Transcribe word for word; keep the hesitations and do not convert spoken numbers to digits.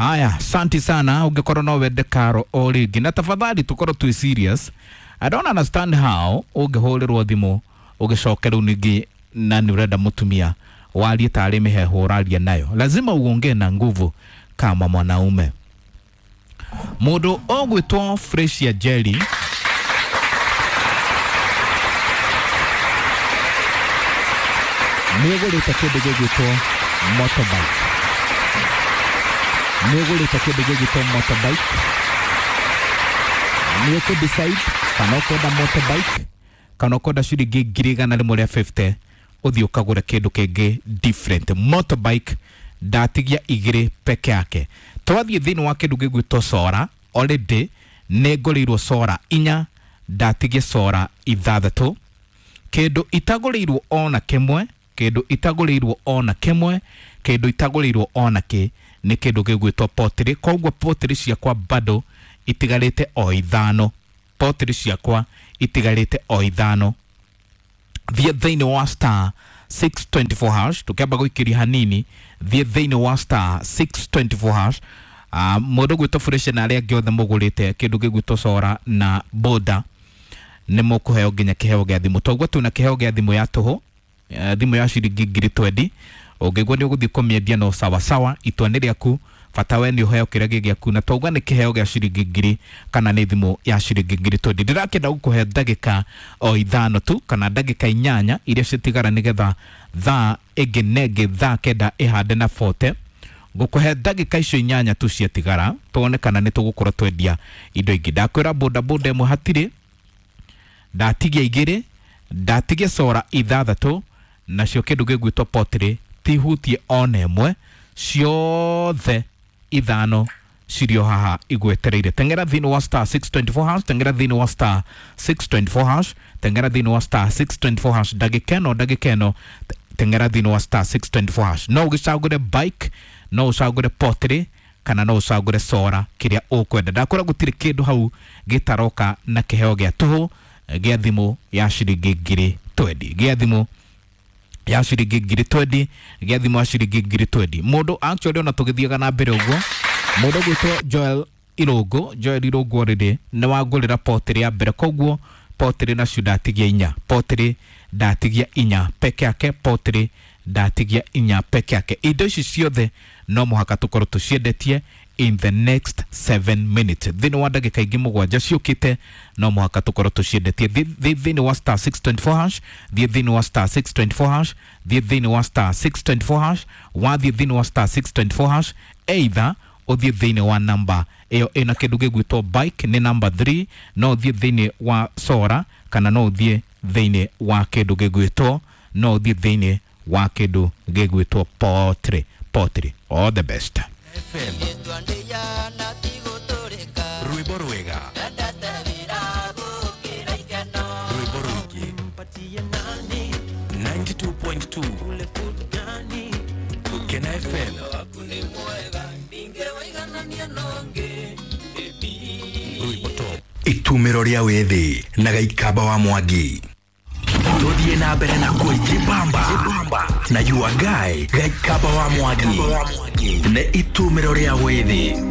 Haya, asante sana. Ũngĩkorwo no wende karo o rĩngĩ, na tafadhali tukorwo twĩ serious. I don't understand how ũngĩhũrĩrwo thimũ ũgĩcoke rĩu ningĩ na nĩ ũrenda mũtumia warie tarĩ mĩheehũ ũraria nayo. Lazima uongee na nguvu kama mwanaume. Mũndũ ũgwĩtwo Fresia Jelly nĩ ũgũrĩte kĩndũ gĩgwĩtwo motorbike, nĩ ũgũrĩte kĩndũ gĩgwĩtwo motorbike, nĩ ũkũ decide kana ũkwenda motorbike kana ũkwenda ciringi ngiri igana rĩmwe rĩa fifty ũthiĩ ũkagũre kĩndũ kĩngĩ different. Motorbike ndatigia igĩrĩ peke yake. Twathiĩ thĩinĩ wa kĩndũ gĩgwĩtwo sora, already nĩ ngũrĩirwo sora inya, ndatigia sora ithathatũ. Kĩndũ itagũrĩirwo ona kĩmwe, kĩndũ itagũrĩirwo ona kĩmwe, kĩndũ itagũrĩirwo ona kĩ nĩ kĩndũ gĩgwĩtwo potiri. Koguo potiri ciakwa bado itigarĩte o ithano, potiri ciakwa itigarĩte o ithano. Thiĩ thĩinĩ wa star six twenty four hash, tũkĩamba gũikĩria hanini, thiĩ thĩinĩ wa star six twenty four hash. Uh, mũndũ gwĩtwo Fresh na arĩa angĩ othe mũgũrĩte kĩndũ gĩgwĩtwo sora na boda nĩ mũkũheo nginya kĩheo gĩa thimũ. Toguo twĩna kĩheo gĩa thimũ ya tũhũ, eh, thimũ ya ciringi ngiri twendi. Ũngĩigua nĩ ũgũthiĩ kũmĩendia no sawa sawa, itua nĩ rĩaku, bata we nĩ ũheo kĩrĩa gĩ gĩaku. Na twauga nĩ kĩheo gĩa ciringi ngiri kana nĩ thimũ ya ciringi ngiri twendi. Ndĩrakĩenda gũkũhe ndagĩka o ithano tu kana ndagĩka inyanya iria citigara nĩgetha thaa ĩngĩ na ĩngĩ thaa kenda ĩhande na forty. Ngũkũhe ndagĩka icio inyanya tu ciatigara tuone kana nĩ tũgũkorwo twendia indo ingĩ. Ndakwĩra boda boda ĩmwe hatirĩ, ndatigia igĩrĩ, ndatigia sora ithathatũ, nacio kĩndũ gĩgwĩtwo potiri tihutie ona ĩmwe, ciothe ithano cirĩ o haha igwetereire. Teng'era thĩinĩ wa star six twenty four hash, teng'era thĩinĩ wa star six twenty four hash, teng'era thĩinĩ wa star six twenty four hash. Ndagĩka ĩno, ndagĩka ĩno, teng'era thĩinĩ wa star six twenty four hash. No ũgĩcagũre bike, no ũcagũre potiri kana no ũcagũre sora, kĩrĩa ũkwenda. Ndakwĩra gũtirĩ kĩndũ hau gĩtaroka na kĩheo gĩa tũhũ gĩa thimũ ya ciringi ngiri twendi, gĩa thimũ ya ciringi ngiri twendi, gĩa thimũ ya ciringi ngiri twendi. Mũndũ actually ona tũgĩthiaga na mbere ũguo, mũndũ ũgwĩtwo Joel Irũngũ, Joel Irũngũ already nĩ wangũrĩra potiri ya mbere, koguo potiri nacio ndatigia inya, potiri ndatigia inya peke yake, potiri ndatigia inya peke yake. Indo ici ciothe no mũhaka tũkorwo tũciendetie in the next seven minutes. Thĩinĩ wa ndagĩka ingĩ mũgwanja ciũkĩte no mũhaka tũkorwo tũciendetie. Thiĩ thĩinĩ wa star six twenty four hash, thiĩ thĩinĩ wa star six twenty four hash, thiĩ thĩinĩ wa star six twenty four hash, wathiĩ thĩinĩ wa star six twenty four hash, either ũthiĩ thĩinĩ wa namba ĩyo ĩna kĩndũ gĩgwĩtwo bike nĩ number three, no ũthiĩ thĩinĩ wa sora kana no ũthiĩ thĩinĩ wa kĩndũ gĩgwĩtwo, no ũthiĩ thĩinĩ wa kĩndũ gĩgwĩtwo potiri. Potiri, all the best. F M. Rwĩmbo rwega. Rwĩmbo rũingĩ. ninety-two point two. Gukena F M. Rwĩmbo top. Itumĩro rĩa wĩthĩ na Gaikamba wa Mwangi. Tuthiĩ na mbere na kwĩjibamba na your guy Gaikamba wa Mwangi. Nĩ itumĩro rĩa wĩthĩ.